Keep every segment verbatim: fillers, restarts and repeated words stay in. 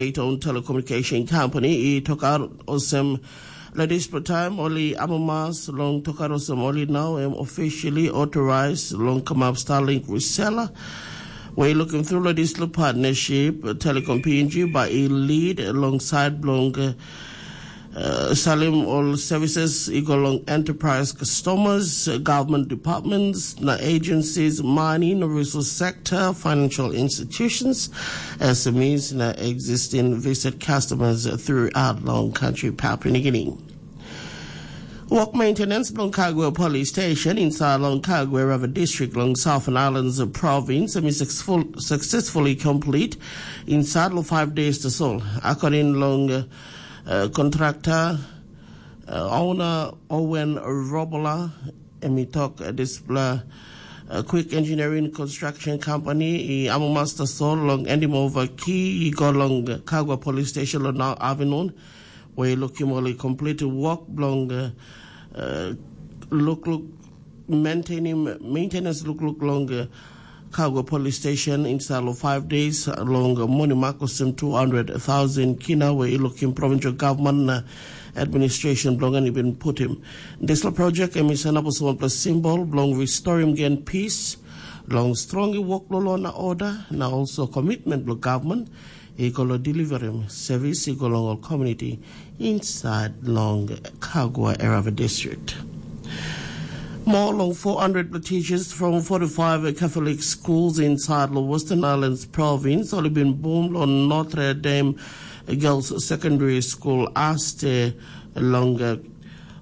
state-owned telecommunication company i tokaut olsem, long dispela taim ol i amamas long tokaut olsem ol i nau em officially authorized long kamap Starlink reseller. We looking through long dispela partnership, Telecom P N G bai i lead alongside bilong uh, salim ol services i go long enterprise customers, government departments, na agencies, mining, resource sector, financial institutions, S M Es, na existing visit customers throughout long country Papua New Guinea. Work maintenance bilong Kagwe Police Station inside long Kagwe River District long Southern Islands Province is successful, successfully complete inside long five days to sol. According long uh, uh, contractor, uh, owner Owen Robola, em i tok uh, dispela uh, Quick Engineering Construction Company i amamas tasol long endim ova ki i go long Kagwa Police Station long nau afternoon, where i lukim ol i complete work bilong uh, uh, lukluk maintaining maintenance lukluk long uh, Kagwa Police Station inside of five days long uh, money makosim two hundred thousand kina, where i lukim provincial government uh, administration bilong en i bin putim. Dispela project em i sanap olsem wanpela simbol bilong restoring gen peace, long strong i work lo law na order, na also commitment bilong government i go lo deliverim service i go long ol community inside long Kagwa Erava District. More long four hundred teachers from forty-five Catholic schools inside the Western Islands province ol been boom on Notre Dame Girls Secondary School aste long uh,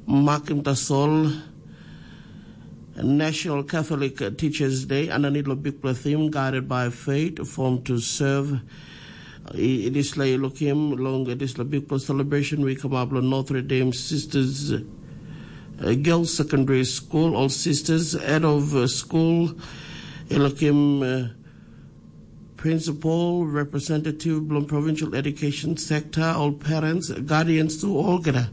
Makim Tasol National Catholic Teachers Day and anitlo big theme guided by faith, formed to serve. Dispela i lukim long dispela bikpela celebration we come up long Notre Dame Sisters uh, Girls Secondary School. All sisters head of uh, school i lukim uh, principal, representative bilong provincial education sector, all parents, guardians to olgeta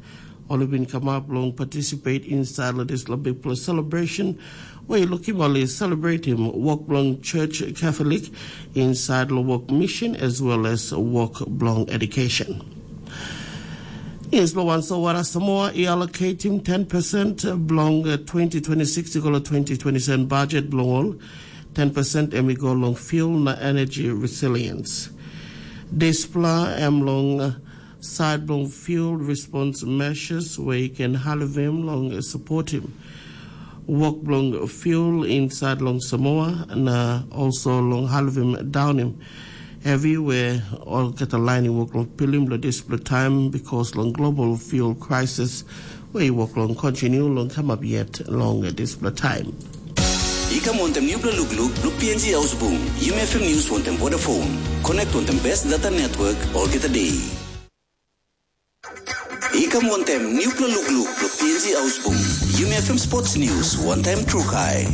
ol i bin kamap long participate inside long dispela bikpela celebration, where i lukim ol i celebrating work bilong Church Catholic inside long work mission as well as work bilong education. Yes, lo wan so wara Samoa i allocating ten percent bilong uh, twenty twenty-six i go lo twenty twenty-seven budget bilong ol. Ten percent em i go long fuel na energy resilience. Dispela em long uh, side bilong fuel response measures where you can halivim long uh, supporting work bilong fuel inside long Samoa na also long halivim downim heavy where olgeta lain i wok long pilim long dispela taim, because long global fuel crisis we i wok long kontinu long kamap yet long dispela taim. I kam wantem nupela lukluk blo P N G Ausbung, Yumi F M News wantem Vodafone. Connect wantem best data network olgeta day. I kam wantem nupela lukluk blo P N G Ausbung, Yumi F M Sports News wantem Trukai.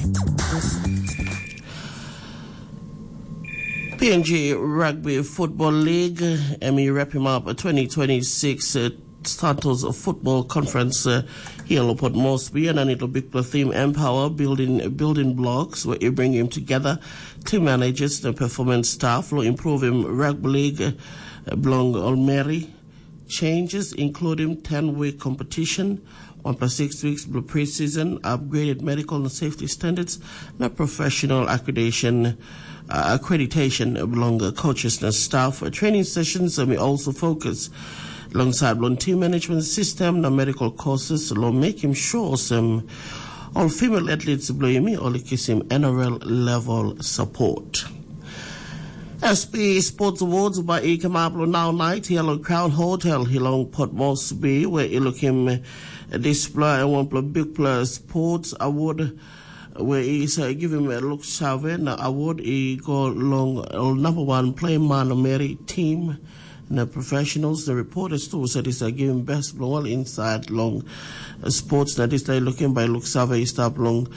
P N G Rugby Football League, em i wrap him up twenty twenty-six uh, Santos Football Conference uh, here in Port Moresby, and it will be theme empower building building blocks where you bring him together, team managers, the performance staff will improve him rugby league uh, belong Olmeri. Changes including ten-week competition, one plus six weeks blue preseason, upgraded medical and safety standards, na professional accreditation, uh, accreditation belong uh, coaches na staff. Uh, training sessions uh, may also focus alongside long team management system na medical courses lo make him sure some all female athletes blo yumi ol kisim N R L level support. S P Sports Awards bai i kamap long nau nait hia long Crown Hotel hia long Port Moresby, where i lukim dispela em wanpela bikpela sports award, where i sa givim luk save na award i go long ol number one play man meri team na professionals. The reporters too said is givim best bilong ol inside long sports na dispela i lukim bai luk save i stap long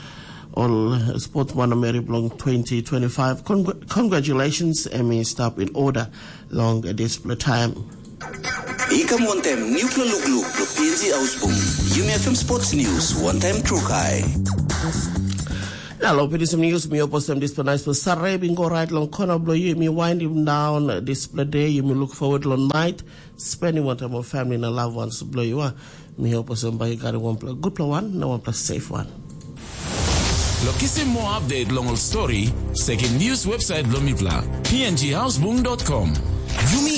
ol sports man meri bilong twenty twenty-five. Congratulations, em i stap in order long dispela time. I kam wantem nupela lukluk blo P N G Ausbung, Yumi F M Sports News wantem Trukai. Na long pinisim news, mi hope olsem dispela nice sare bin go right long kona bilong yu. Mi winding down dispela day. Yumi look forward long night spending one time with family na loved ones bilong yu. Mi hope olsem bai yu gat wanpela gutpela one na wanpela safe one. Lo kisim mo update long ol story, sekin news website lo mipla, P N G houseboom dot com. Yumi